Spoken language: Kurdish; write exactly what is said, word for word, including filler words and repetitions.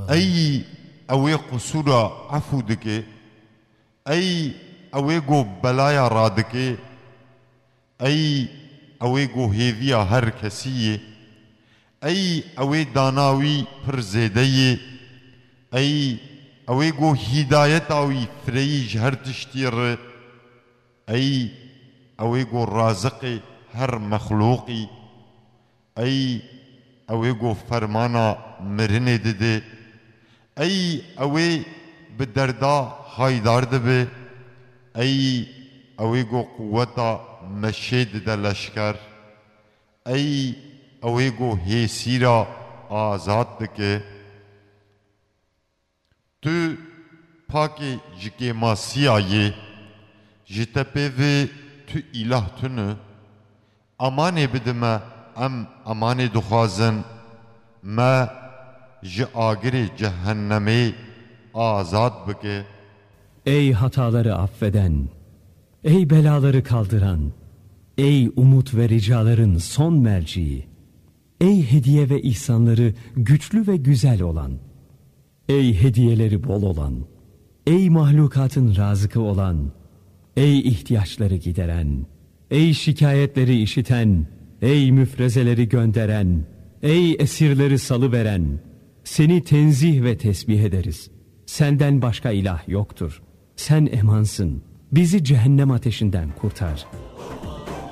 Ey ew ê qisûra efû dike, ey ew ê ku belaya radike, ey ew ê ku hêviya her kesî ye, ey ew ê dana wî pir zêde ye, ey ew ê ku hîdayeta wî fireyî ji her tiştî re, ey ew ê ku raziqê her mexlûqî, ey ew ê ku fermana mirinê dide, ey ew ê bi derda haydar dibe, ey ew ê ku quweta meşê dide leşker, ey ew ê ku hêsîra azad dike. Tu pakê ji kêmasiya yê, ji te pê vê tu îlah tune. Amanê bide me, em amanê dixwazin, me ji agirê cehennemê azad bike. Ey hataları affeden, ey belaları kaldıran, ey umut ve ricaların son merciği, ey hediye ve ihsanları güçlü ve güzel olan, ey hediyeleri bol olan, ey mahlukatın razıkı olan, ey ihtiyaçları gideren, ey şikayetleri işiten, ey müfrezeleri gönderen, ey esirleri salıveren, seni tenzih ve tesbih ederiz. Senden başka ilah yoktur. Sen emansın. Bizi cehennem ateşinden kurtar.